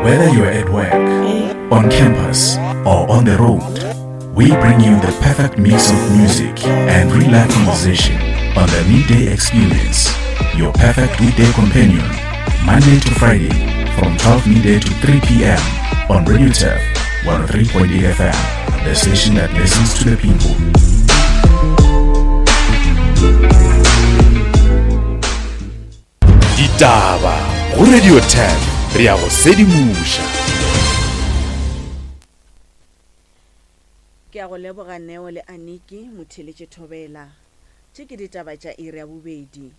Whether you're at work, on campus, or on the road, we bring you the perfect mix of music and real life conversation on the Midday Experience, your perfect weekday companion, Monday to Friday from 12 midday to 3 p.m. on Radio Turf 103.8 FM, the station that listens to the people. Ditaba go Radio 10 re ya go sedimoša. Ke a go leboga Neo le Aniki, Motheeletše Thobela. Tše ke ditaba tša iri ya bobedi.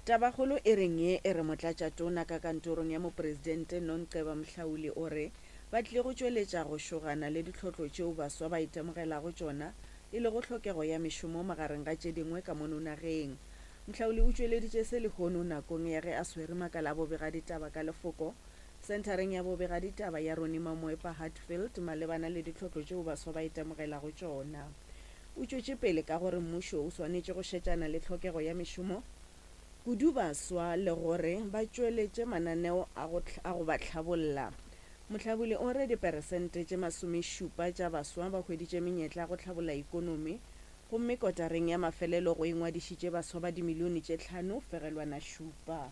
Tabakgolo e reng ye e re Motlatšatona ka kantorong ya Mopresidente Nonceba Mhlauli o re ba tlile go tšweletša go šogana le ditlhotlo tšeo baswa ba itemogelago tšona e lego tlhokego ya mešomo magareng ga tše dingwe ka mono nageng. Mhlauli o tšweleditše se lehono nakong ya ge a swere makala a bobegaditaba ka lefoko senthareng ya bobegaditaba ya Ronnie Mamoepa Hatfield malebana le ditlhotlo tšeo baswa ba itemogelago tšona. O tšwetše pele ka gore mmušo o swanetše go šetšana le tlhokego ya mešomo kudu baswa le gore ba tšweletše mananeo a go a go ba hlabolla. Mohlabuli o re diperesente tše masomešupa tša baswa ba hweditše menyetla ya go hlabolla ikonomi gomme kotareng ya mafelelo go ingwadišitše baswa ba dimilione tše 5.7.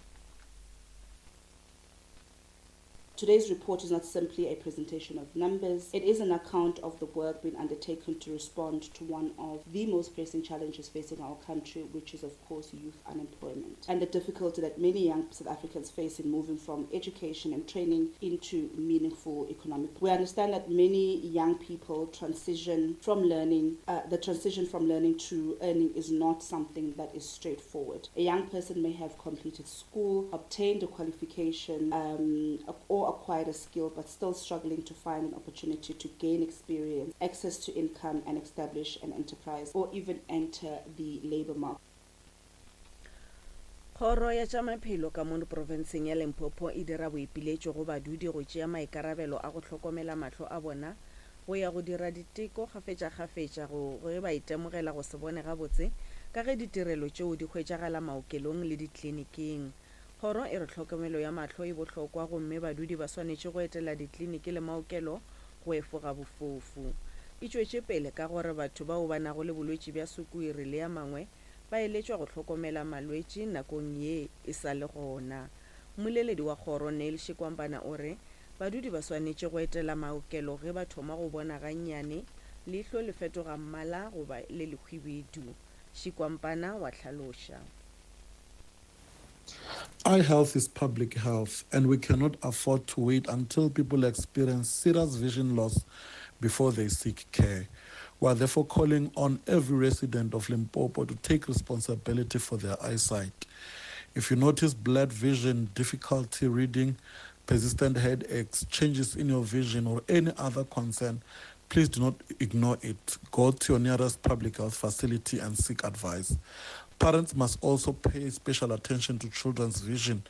Today's report is not simply a presentation of numbers. It is an account of the work being undertaken to respond to one of the most pressing challenges facing our country, which is, of course, youth unemployment and the difficulty that many young South Africans face in moving from education and training into meaningful economic. We understand that many young people transition from learning, uh, the transition from learning to earning is not something that is straightforward. A young person may have completed school, obtained a qualification, um, or acquired a skill, but still struggling to find an opportunity to gain experience, access to income, and establish an enterprise, or even enter the labor market. Kgoro ya tša Maphelo ka mono profenseng ya Limpopo e dira boipiletšo go badudi go tšea maikarabelo a go hlokomela mahlo a bona go ya go dira diteko kgafetšakgafetša go ge ba itemogela go se bone gabotse ka ge ditirelo tšeo di hwetšagala maokelong le dikliniking. Kgoro e re tlhokomelo ya mahlo e bohlokwa gomme badudi ba swanetše go etela dikliniki le maokelo go efoga bofofu. E tšwetše pele ka gore batho bao ba nago le bolwetši bja sukwiri le a mangwe ba eletšwa go hlokomela malwetši nakong ye e sa le gona. Mmoleledi wa kgoro Neil Shikwambana o re badudi ba swanetše go etela maokelo ge ba thoma go bona gannyane leihlo le fetoga mmala goba le lehwibidu. Shikwampana wa hlaloša. Eye health is public health, and we cannot afford to wait until people experience serious vision loss before they seek care. We are therefore calling on every resident of Limpopo to take responsibility for their eyesight. If you notice blurred vision, difficulty reading, persistent headaches, changes in your vision, or any other concern, please do not ignore it. Go to your nearest public health facility and seek advice. Parents must also pay special attention to children's vision,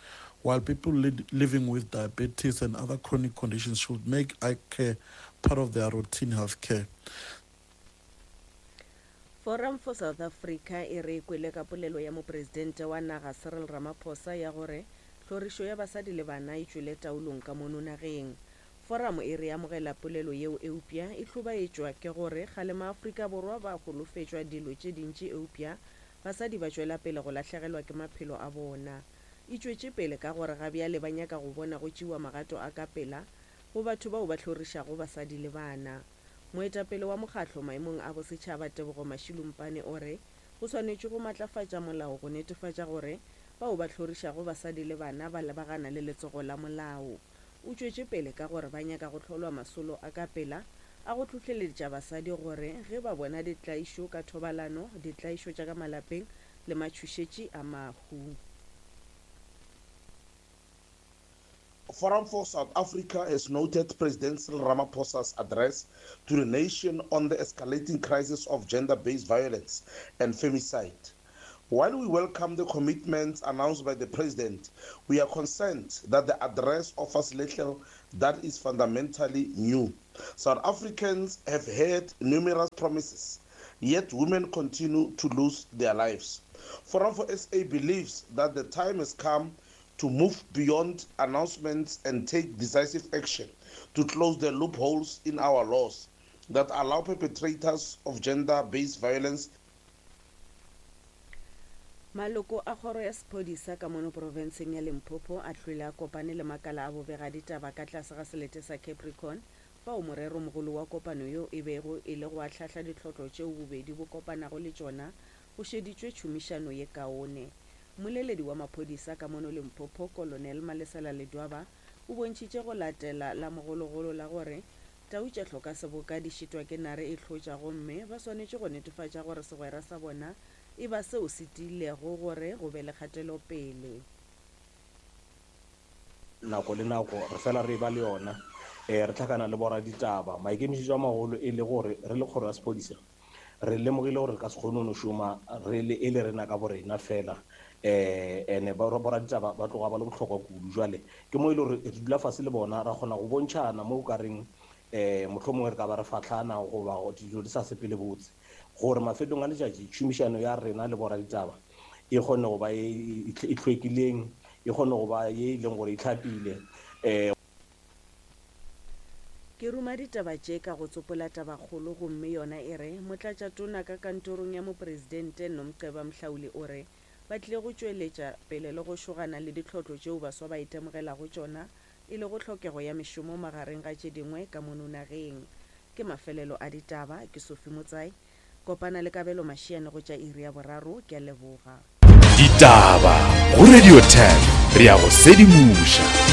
while people li- living with diabetes and other chronic conditions should make eye care part of their routine health care. Forum for South Africa e re e kwele ka polelo ya Mopresidente wa naga Cyril Ramaphosa ya gore tlhorišo ya basadi le bana e tšwele taolong ka mono nageng. Foramo e re e amogela polelo yeo eupša e hlobaetšwa ke gore kgale maAfrika Borwa ba holofetšwa dilo tše dintši eupša basadi ba tšwela pele go lahlegelwa ke maphelo a bona. E tšwetše pele ka gore ga bjale ba nyaka go bona go tšewa magato a ka pela go batho bao ba hlorišago basadi le bana. Moetapele wa mokgatlo maemong a bosetšhaba Tebogo Mashilumpane o re go swanetšwe go matlafatša molao go netefatša gore bao ba hlorišago basadi le bana ba lebagana le letsogo la molao. O tšwetše pele ka gore ba nyaka go hlolwa masolo a ka pela a go hlohleletša basadi gore ge ba bona ditlaišo ka thobalano, ditlaišo tša ka malapeng le matšhošetši a mahu. Forum for South Africa has noted President Cyril Ramaphosa's address to the nation on the escalating crisis of gender-based violence and femicide. While we welcome the commitments announced by the president, we are concerned that the address offers little that is fundamentally new. South Africans have heard numerous promises, yet women continue to lose their lives. Forum for SA believes that the time has come to move beyond announcements and take decisive action to close the loopholes in our laws that allow perpetrators of gender-based violence Maloko a kgoro ya sephodisa ka mono profenseng ya Limpopo a hlwele a kopane le makala a bobegaditaba ka tlase ga selete sa Capricorn fao moreromogolo wa kopano yeo e bego e le go ahlahla ditlhotlo tšeo bobedi bo kopanago le tšona go šeditšwe tšhomišano ye kaone. Mmoleledi wa maphodisa ka mono Limpopo, Kolonel Malesela Ledwaba o bontšhitše go latela la mogologolo la gore tau tša hloka seboka di šitwa ke nare e hlotša gomme ba swanetše go netefatša gore segwera sa bona e ba seo se tiilego gore go be le kgatelopele. Nako le nako re fela re eba le yona, re hlakana le boraditaba. Maikemišetšo a magolo e le gore re le kgoro ya sephodisa re lemogile gore re ka se kgone go no šoma re le e le rena ka borena fela, ene boraditaba ba tloga ba le bohlokwa kudu. Jwale ke mo e le gore re dula fase le bona ra kgona go bontšhana mo o ka reng mohlomongwe re ka ba re fahlana goba dilo di sa sepele botse, gore mafelong a letšatši tšhomišano ya rena le boraditaba e kgone go ba ye e hlwekileng, e kgone go ba ye e leng gore e hlapile. Ke ruma ditaba tše ka go tsopola tabakgolo gomme yona e re, Motlatšatona ka kantorong ya Mopresidente Nomceba Mhlauli o re ba tlile go tšweletša pele le go šogana le ditlhotlo tšeo baswa ba itemogelago tšona e lego tlhokego ya mešomo magareng ga tše dingwe ka mono nageng. Ke mafelelo a ditaba, ke Sophie Motsai. Kopana le Kabelo Mashiane go tša iri ya boraro. Ke a leboga. Ditaba go Radio 10 re a go sedimoša.